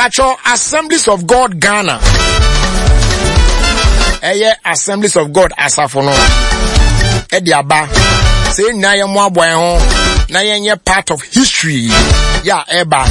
Atwɔ Assemblies of God Ghana. Ɛyɛ Assemblies of God asafo no ɛde aba sɛ yɛn nyinaa yɛn mmoaboa yɛn ho na yɛnyɛ part of history yɛ a ɛba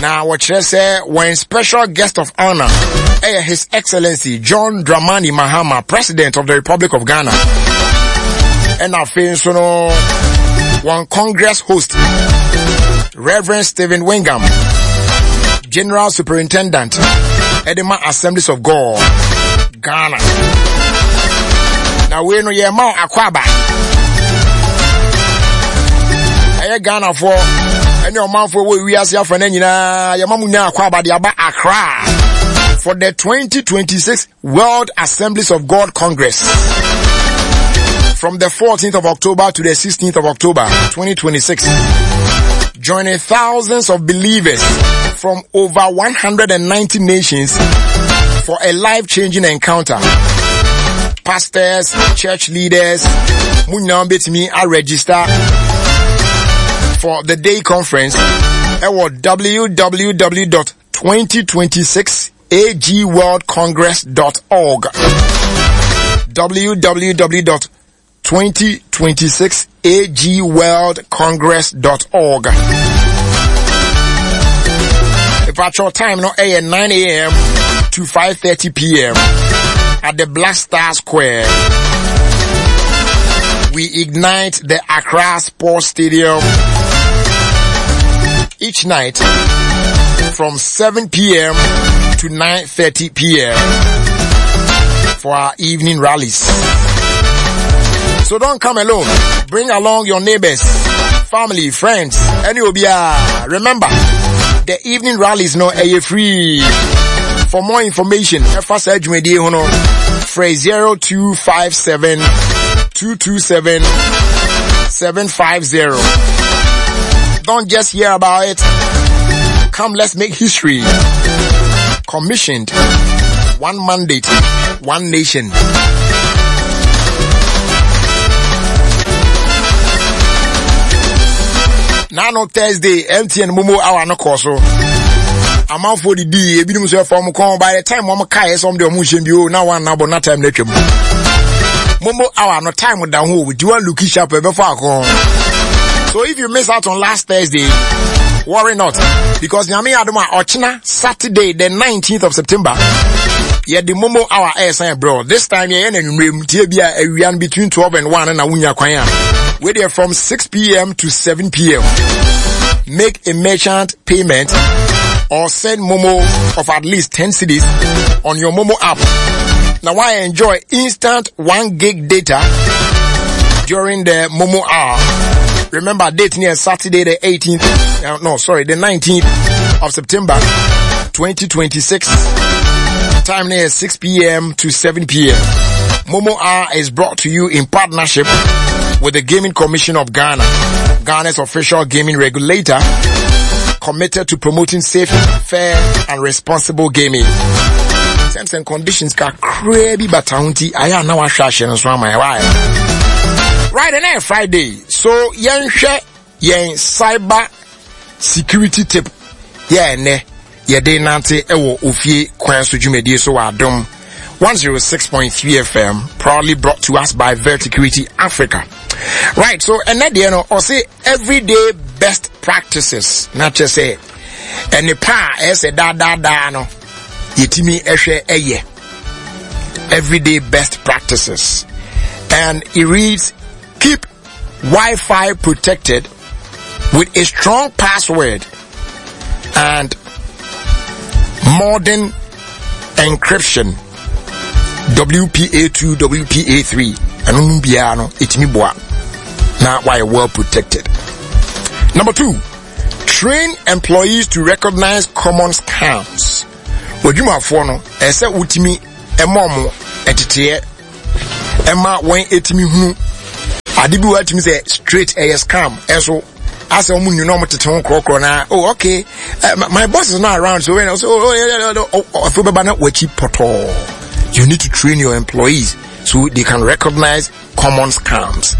na wɔkyerɛ sɛ wɔn special guest of honor ɛyɛ His Excellency John Dramani Mahama, President of the Republic of Ghana. Ɛna afei nso no wɔn Congress host Reverend Stephen Wingham, General Superintendent, Edema Assemblies of God, Ghana. Na wei no yɛ ma akɔ aba. Ɛyɛ Ghanafoɔ ɛne ɔmanfoɔ wɔ wiase afa no nyinaa yɛma mu nya akɔ aba de aba Accra for the 2026 World Assemblies of God Congress from the 14th of October to the 16th of October 2026. Joining thousands of believers from over 190 nations for a life-changing encounter. Pastors, church leaders, mo nyinaa betumi register for the day conference ɛwɔ www.2026agworldcongress.org www.2026agworldcongress.org Virtual time no ɛyɛ 9 a.m. to 5:30 p.m. at the Black Star Square. We ignite the Accra Sports Stadium each night from 7 p.m. to 9:30 p.m. for our evening rallies. So don't come alone. Bring along your neighbors, family, friends, any obia. Remember, the evening rallies no are free. For more information, ɛfa saa dwumadie ho no, frɛ 0257 227 750. Don't just hear about it. Come, let's make history. Commissioned. One mandate, one nation. Now, Thursday, MTN Momo hour no kɔ so. Amanfoɔ didi ebinom nso ɛfa wɔn kɔn by the time wɔn kaeɛ sɛ wɔn de wɔn nhyɛn bi o na wɔn anabɔ na time na atwam. Momo hour no time da ho o di wɔn looki sharp ɛbɛfɔ akɔn. So if you miss out on last Thursday, worry not because Nyame adom a ɔkyena Saturday the 19th of September yɛde momo hour ɛresan ɛbrɛ this time yɛyɛ no anwummerɛ mu tie bi a awia no between 12 and 1 na wonya kwan a wei deɛ from 6 pm to 7 pm make a merchant payment or send momo of at least 10 cedis on your momo app now I enjoy instant 1 gig data during the momo hour remember date near saturday the 18th no sorry the 19th of september 2026 time near 6 p.m to 7 p.m momo hour is brought to you in partnership with the gaming commission of ghana ghana's official gaming regulator committed to promoting safe fair and responsible gaming terms and conditions kakraa bi bata ho nti ayɛ a na wahwɛ ahyɛ no so ama yɛ right and then friday so yɛnhwɛ yɛn cyber security tip yɛ ɛnɛ yɛde nante ɛwɔ ofie kwan so dwumadie so wɔ adom 106.3 fm proudly brought to us by Verticurity Africa right so ɛnɛ deɛ no ɔse everyday best practices na kyerɛ sɛ ɛne pa a ɛyɛ sɛ daadaadaa no yɛtumi ɛhwɛ ɛyɛ everyday best practices and it reads keep Wi-Fi protected with a strong password and modern encryption WPA2 WPA3 ɛno no biara no ɛtumi boa na wayɛ well protected number two train employees to recognize common scams w'adwumafoɔ no ɛsɛ wotumi ɛma ɔmo ɛteteɛ ɛma wɔn ɛtumi hunu ade bi wɔ atumi sɛ straight ɛyɛ scam ɛso asɛ wɔn nyina wɔn tete ho korɔkorɔ na oh okay uh, my boss is not around so when I say oh, oh yeah yeah yeah oh, oh, afei bɛba na wɔakyi pɔtɔɔ you need to train your employees so they can recognize common scams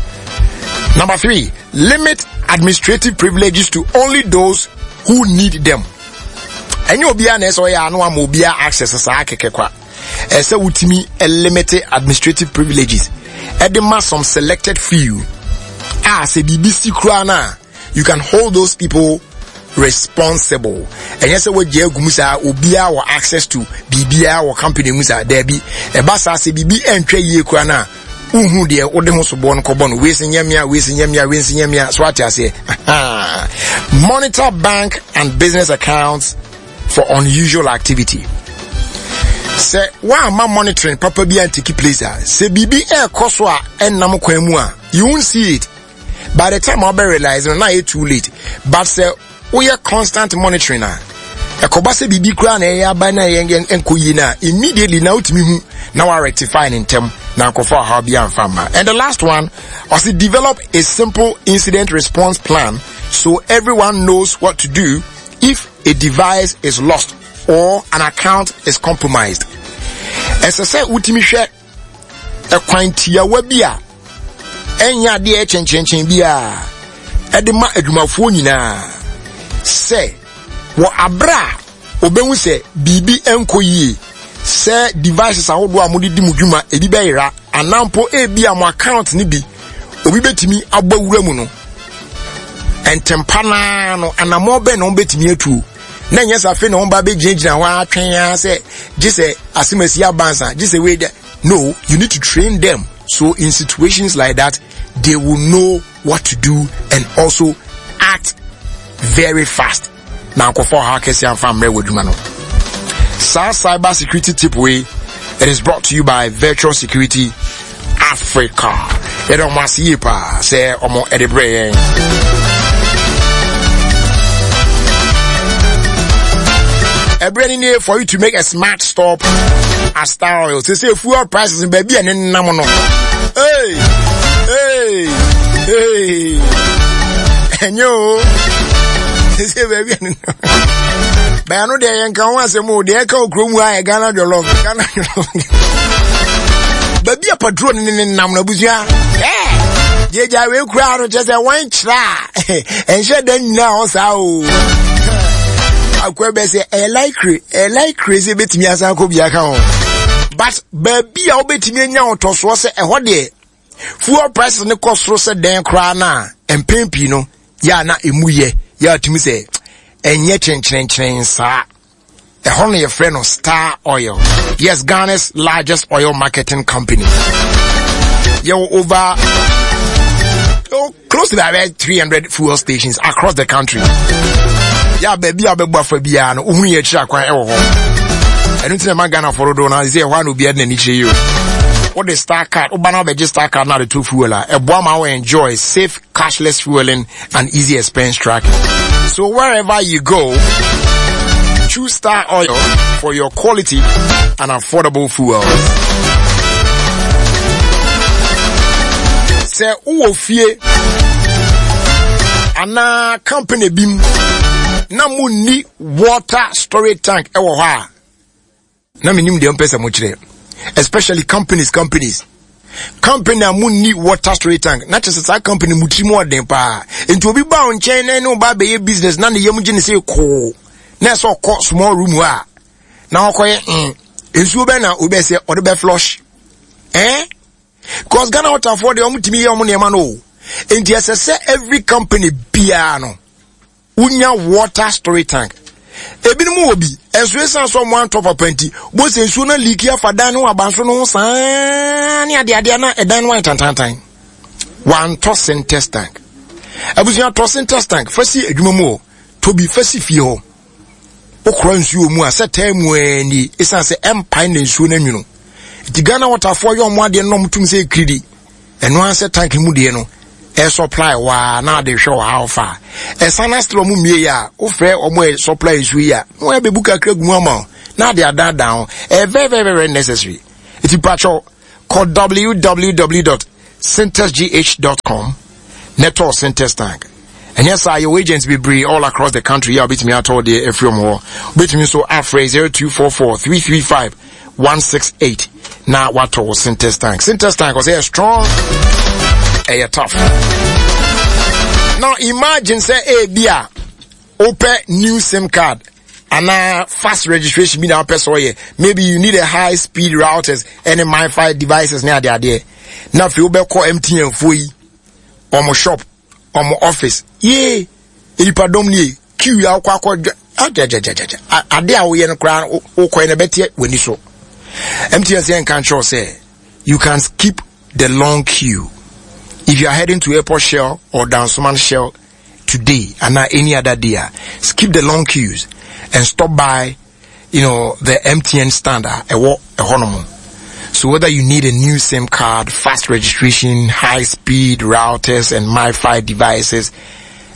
number three limit administrative privileges to only those who need them. Ɛnyɛ obiara na ɛsɛ ɔyɛ ano ama obiara access saa kɛkɛ kwa. Ɛsɛ wotumi limit administrative privileges ɛde ma some selected few a sɛ biribi si koraa no a you can hold those people responsible. Ɛnyɛ sɛ wagye agu mu saa obiara wɔ access to biribiara wɔ company mu saa daabi. Ɛba saa sɛ biribi ɛntwa yie koraa no a wohu deɛ wode ho soboɔ no kɔbɔ no wei se nyɛ mea wei se nyɛ mea wei se nyɛ mea so ate aseɛ. Monitor bank and business accounts for unusual activity. Sɛ woamma monitoring papa bi antiki place a sɛ biribi ɛrekɔ so a ɛnnam kwan mu a you won't see it. By the time wobɛ realize no na ayɛ too late. But sɛ woyɛ constant monitoring a ɛkɔba sɛ biribi koraa na ɛyɛ aba na ɛyɛ nkɔ yie no a immediately na wotumi hu na wa rectify ne ntɛm na nkɔfa ɔhaw bi amfa mma. And the last one, ɔsi develop a simple incident response plan so everyone knows what to do if a device is lost or an account is compromised. Ɛsɛ sɛ wotumi hwɛ ɛkwan tiawa bi a ɛnyɛ adeɛ kyenkyenkyen biara ɛde ma adwumafoɔ nyinaa sɛ wɔ abere a obehu sɛ biribi nkɔ yie sɛ devices ahodoɔ a mode di mo dwuma ebi bɛyera anaa mpo ebi a mo account no bi obi bɛtumi abɔ wura mu no ntɛmpa naa no anammɔn bɛn na wɔbɛtumi atuo na ɛnyɛ sɛ afei na wɔn ba bɛgyinagyina hɔ atwɛn ara sɛ gye sɛ asemasi abansa gye sɛ wei dɛ no you need to train them so in situations like that they will know what to do and also act very fast na nkɔfɔ ɔhaw kɛse amfa mmerɛ wɔ adwuma no saa cyber security tip wei it is brought to you by virtual security Africa. Yɛde ɔmo ase yie paa sɛ ɔmo ɛde brɛ yɛn. Ɛbrɛ ni nie for you to make a smart stop at Star Oil. Sɛ sɛ fuel prices baabi a ne nam no. Hey, hey, hey. Ɛnyɛ o. Sɛ sɛ baabi a ne nam. Bɛn no deɛ yɛn ka ho asɛm o deɛ ɛka okuro mu a yɛ Ghana jollof Ghana jollof. Baabi a patrol ne ne nam no abusua. Gyegya wei kura no kyerɛ sɛ wɔn kyerɛ a ɛnhyɛ da nyinaa hɔ saa o. Akwa bɛ sɛ ɛyɛ likely ɛyɛ likely sɛ ebetumi asan akɔ bi aka ho. But baabi a wobetumi anya ɔtɔsoɔ sɛ ɛhɔ deɛ fuel prices ne kɔ soro sɛ dɛn koraa no a mpɛn pii no yɛ a na emu yɛ yɛ a tumi sɛ ɛnyɛ kyenkyerenkyeren saa. Ɛhɔ no yɛfrɛ no Star Oil. Yes, Ghana's largest oil marketing company. Yɛwɔ over oh, close to about 300 fuel stations across the country. Yeah, baabi a wobɛbɔ afa biara no, wohunu yɛ akyiri akwan ɛwɔ hɔ. Ɛno nti na ɛma Ghanafoɔ dodoɔ no sɛ ɛhɔ a na obiara de n'ani kyerɛ yi o. Wode Star card, woba na wobɛgye Star card na de to fuel a, ɛboa ma wo enjoy safe cashless fueling and easy expense tracking. So wherever you go, choose Star Oil for your quality and affordable fuel. Sɛ wowɔ fie anaa company bi mu na munni water storage tank ɛwɔ hɔ a na menim deɛ mpɛ sɛ mokyerɛ especially companies companies company a munni water storage tank na kyerɛ sɛ saa company mu tiri mu ɔden paa nti obi ba wo nkyɛn na ɛne wo ba bɛyɛ business na ne yam gye ne sɛ koo na ɛsɛ ɔkɔ small room hɔ a na ɔkɔyɛ mm nsuo bɛn na obi bɛ sɛ ɔde bɛ flush eh because Ghana waterfoɔ deɛ wɔn tumi yɛ wɔn nneɛma no o nti ɛsɛ sɛ every company biara no wonya water storage tank ebinom wɔ bi ɛnso esan so ɔmo antɔ papa nti bo sɛ nsuo na leaki afa dan no abansoro no ho saa ne adeadeɛ na ɛdan no ayɛ tantantan wantɔ sintex tank abusua tɔ sintex tank fa si adwuma mu hɔ tɔ bi fa si fie hɔ wokora nsuo mu a sɛ taa mu ani esan sɛ ɛmpae na nsuo no anwunu nti Ghana waterfoɔ yɛ ɔmo adeɛ no na ɔmo tum sɛ ekiridi ɛno ara sɛ tank mu deɛ no ɛsupply waa na ade hwɛ wɔ how far ɛsan na still ɔmo mmie yɛ a wofrɛ ɔmo ɛ supply nsuo yi a na wɔn abɛbu kakra gu mu ama wo na ade adaadaa ho ɛyɛ very very very necessary eti patwɔ kɔ www.syntexgh.com na ɛtɔ Syntex tank ɛnyɛ saa yɛwɔ agents bebree all across the country yɛ a wobɛtumi atɔ deɛ afiri ɔmo hɔ wobɛtumi nso afrɛ 0244 335 168 na watɔ wo Syntex tank. Syntex tank ɔsɛ yɛ strong, ɛyɛ tough. Now imagine sɛ ebi a wopɛ new sim card. Anaa fast registration bi na wopɛ sɛ ɔyɛ. Maybe you need a high speed routers ɛne MiFi devices ne adeadeɛ. Na afei wobɛkɔ MTN foɔ yi, wɔn shop, wɔn office. Yee, nipadɔm nie, queue a wokɔ akɔ agyagyagyagya. Ade a woyɛ no koraa wokɔɛ no ɛbɛteɛ w'ani so. MTN sɛ nka nkyerɛw sɛ you can skip the long queue. If you are heading to Airport Shell or Dansoman Shell today and not any other day, ah, skip the long queues and stop by, you know, the MTN stand. Ah, so whether you need a new SIM card, fast registration, high speed routers and MiFi devices,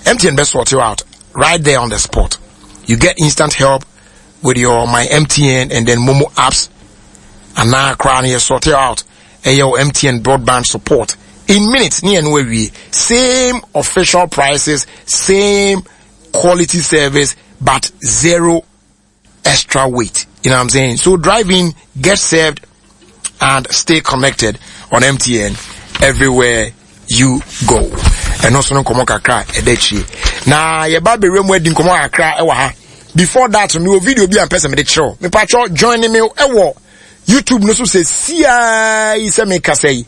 MTN best sort you out right there on the spot. You get instant help with your My MTN and then Momo apps. And now crown you sort you out. Ɛyɛ MTN broadband support in minutes ne ɛno awie same official prices same quality service but zero extra wait you know what i'm saying so drive in get served and stay connected on mtn everywhere you go ɛno nso no nkɔmɔ kakra ɛda akyire na yɛba bɛwura mu adi nkɔmɔ kakra ɛwɔ ha before that mewɔ video bi a mpɛ sɛ mede kyerɛw mepatwɔ join me ɛwɔ youtube no so sɛ siaa yi sɛ mekasa yi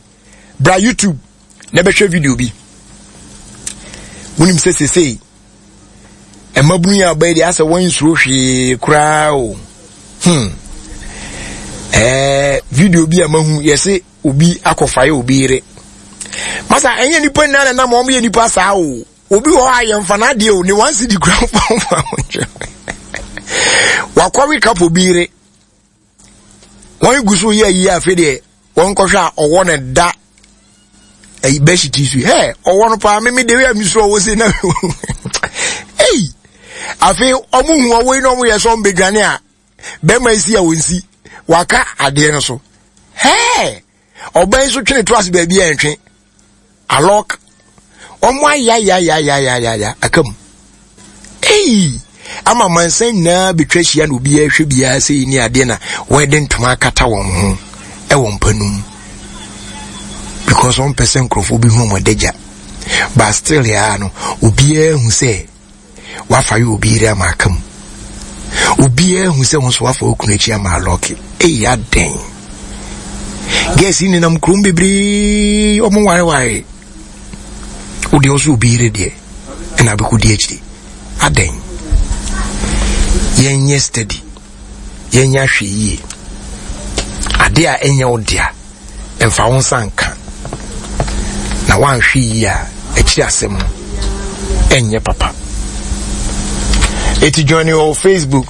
bra youtube na bɛhwɛ video bi wonim sɛ sesei mmabunu yi a ɔbɛyɛ deɛ asɛ wɔn nsuro hwee koraa o hmm ɛɛ video bi a mahu yɛse obi akɔfaeɛ obi yere masa ɛnyɛ nipa nyinaa na nam wɔn yɛ nipa saa o obi wɔ hɔ a yɛmfa n'adeɛ o ne one cedi kura mfa mfa wakɔwe kapo bi yere wɔn gu so yɛ ayi afei deɛ wɔn kɔhwɛ a ɔwɔ ne da ɛyi bɛhyiti so hɛ ɔwɔ no paa mímí de wia mi so ɔwɔ se na ɛyi afei wɔn hu ɔwɔ yi na wɔn yɛ sɛ wɔn bɛdwane a bɛrima yi si a wɔn si waka adeɛ no so hɛɛ. Ɔbaa yi nso twe ne to ase baabi a ɛntwe. Alɔk. Wɔn ayayayayayaya aka mu. Ei! Ama mansan nyinaa betwa ahyia na obiara hwɛ biara sɛ yi ne adeɛ na wɔde ntoma akata wɔn ho ɛwɔ mpa no mu. Because wɔn pɛ sɛ nkurɔfoɔ bi hu wɔn adagya. But still yaa no, obiara hu sɛ wafa yɛ obi yere ama aka mu obiara hu sɛ wo nso wafa wo kunu akyi ama alɔke eyi adɛn gɛs yi nenam kurom bebree ɔmo wareware wo deɛ ɔso obi yere deɛ ɛna abɛkɔdi akyiri adɛn yɛnyɛ steady yɛnyɛ ahwɛ yie adeɛ a ɛnyɛ wo dea mfa wo nsa nka na woanhwɛ yie a akyiri asɛm no ɛnyɛ papa eti join wɔ facebook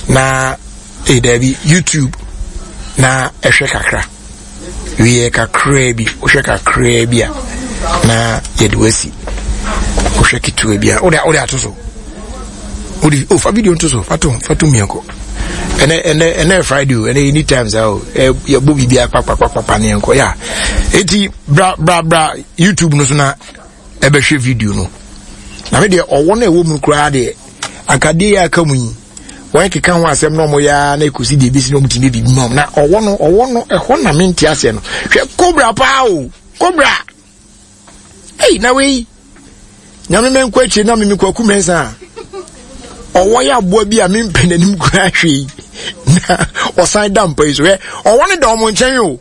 na eh, daabi youtube na ɛhwɛ kakra wieɛ kakraa bi wohwɛ kakraa bi a na yɛde wasi wohwɛ ketewa bi a wode wode ato so wode oh, fa video nto so fa to fa to mmiɛnkɔ ɛnɛ ɛnɛ ɛnɛ friday o ɛnɛ anytime saa o ɛ yɛbɔ biribi akpakpakpakpa ne yɛnkɔ ya eti bra bra bra youtube no so na ɛbɛhwɛ video no na me deɛ ɔwɔ no ɛwɔ mu koraa deɛ anka deɛ yɛ aka mu yi wɔn keka ho asɛm na wɔn yɛ ara na ekosi deɛ ebesi na wɔn ti bɛ bibi mu na ɔwɔ no ɔwɔ no ɛhɔ na mente aseɛ no hwɛ kobra paa o kobra. Ei, na wei nyame mɛnkɔ akyire na meme kwaku mɛnsa a ɔwɔ yɛ aboa bi a mempɛ n'anim koraa hwee na ɔsan da mpa yi so hwɛ ɔwɔ no da ɔmo nkyɛn o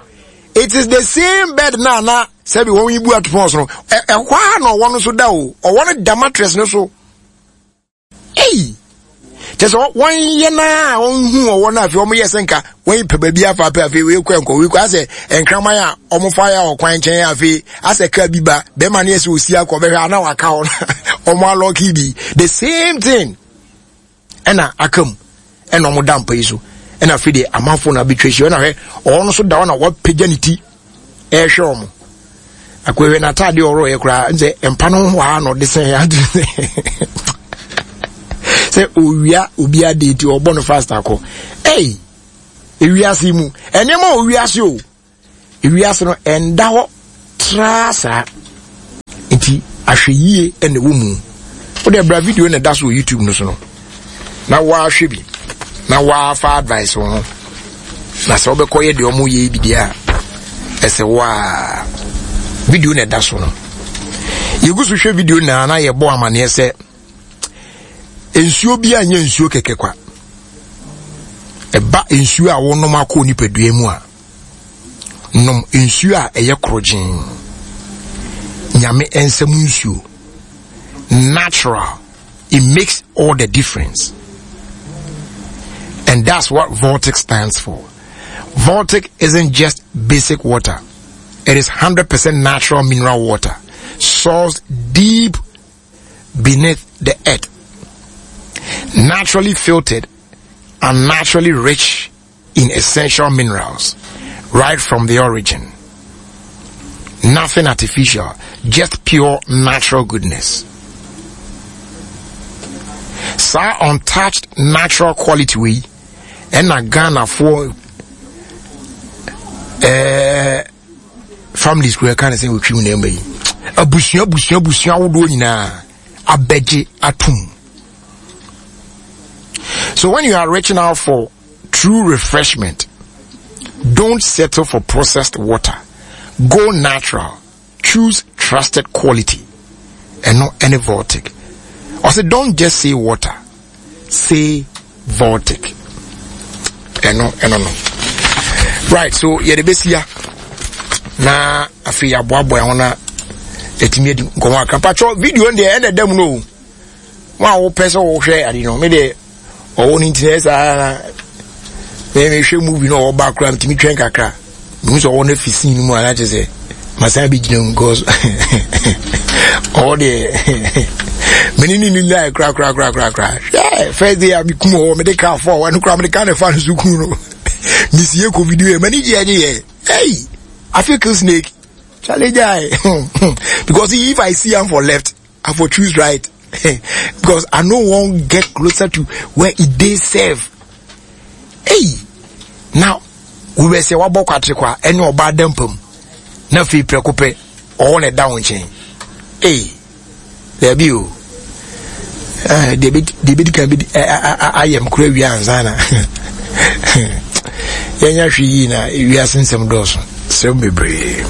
it is the same bed na na sɛbi wɔn yi bu atopɔn so no ɛhɔ a na ɔwɔ no so da o ɔwɔ no da mattress no so. Ei! Kyɛ sɛ wɔnyɛ no a wɔnhu ɔwɔ no afei wɔyɛ sɛ nka wɔn pɛ baabi afa pɛ afei wei kɔ nkɔ wei kɔ asɛ nkraman a wɔfa yɛ ɔkwan nkyɛn afei asɛ kaa bi ba bɛrima no yɛ sɛ osi akɔ bɛhwɛ ana waka hɔ wɔn alɔki bi the same thing ɛna aka mu ɛna wɔn da mpa yi so ɛna afei deɛ amanfo na abɛtwa ahyia ɛna hwɛ ɔwɔ no so da hɔ na wɔapagya ne ti ɛrehwɛ wɔn akɔhwɛ n'ataade ɔrɔ yɛ koraa sɛ mpa no ho aa na ɔde sɛn ade sɛ owia obi ade ti ɔbɔ no fast akɔ ɛy ewiase mu nneɛma wɔ wiase o ewiase no ɛnda hɔ traa saa nti ahwɛyie na ɛwɔ mu wode bra video na ɛda so wɔ youtube no so no na woahwɛ bi na woafa advice wo ho na sɛ wobɛkɔyɛ deɛ ɔmo yɛ bi deɛ a ɛsɛ wo a video na ɛda so no yɛgu so hwɛ video na na yɛbɔ amaneɛ sɛ nsuo bi anyɛ nsuo kɛkɛ kwa. Ɛba nsuo a wonom akɔ nipadua mu a, nom nsuo a ɛyɛ korogyen. Nyame nsɛm nsuo. Natural. It makes all the difference. And that's what Voltic stands for. Voltic isn't just basic water. It is 100% natural mineral water, sourced deep beneath the earth. Naturally filtered and naturally rich in essential minerals right from the origin. Nothing artificial, just pure natural goodness. Saa untouched natural quality wei ɛna Ghanafoɔ ɛɛ families kura ɛka ne sɛ wɔtwi mu na ɛma yi abusua abusua abusua ahodoɔ nyinaa abɛgye atum. So when you are reaching out for true refreshment, don't settle for processed water. Go natural. Choose trusted quality and not any Voltic. I said, don't just say water. Say Voltic. And no, and no. Right, so yeah, the best here. Na afei aboaboa ho na ɛtumi adi nkɔmmɔ akra patwɔ video no deɛ ɛna ɛda mu no mo a wopɛ sɛ wohwɛ ade no me deɛ ɔwɔ no ntina saa na mehwɛ movie no ɔwɔ ba koraa metumi twɛn kakra mehu sɛ ɔwɔ no afi scene no mu a na kyerɛ sɛ masan bɛgyina mu cause ɔwɔ deɛ mene ne ne nyae koraa koraa koraa koraa koraa hwɛ first day a mekum ɔwɔ mede kaa fɔ ɛno koraa mede kaa ne fa no so kum no mesie kɔ video yɛ m'ani gyeɛ gye yɛ hey I feel kill snake challenge I because if I see am for left I for choose right because I no wan get closer to where e dey safe. Hey, now we were say wabɔ kwatre kwa ɛne ɔbaa da mpam na afei prɛko pɛ ɔwɔ na ɛda wo nkyɛn. Hey, daabi o. Eh, deɛ bɛdi kan bɛdi ayɛ m kora wie ansa na yɛnya hwee yie na wiase nsɛm dɔɔso sɛm bebree.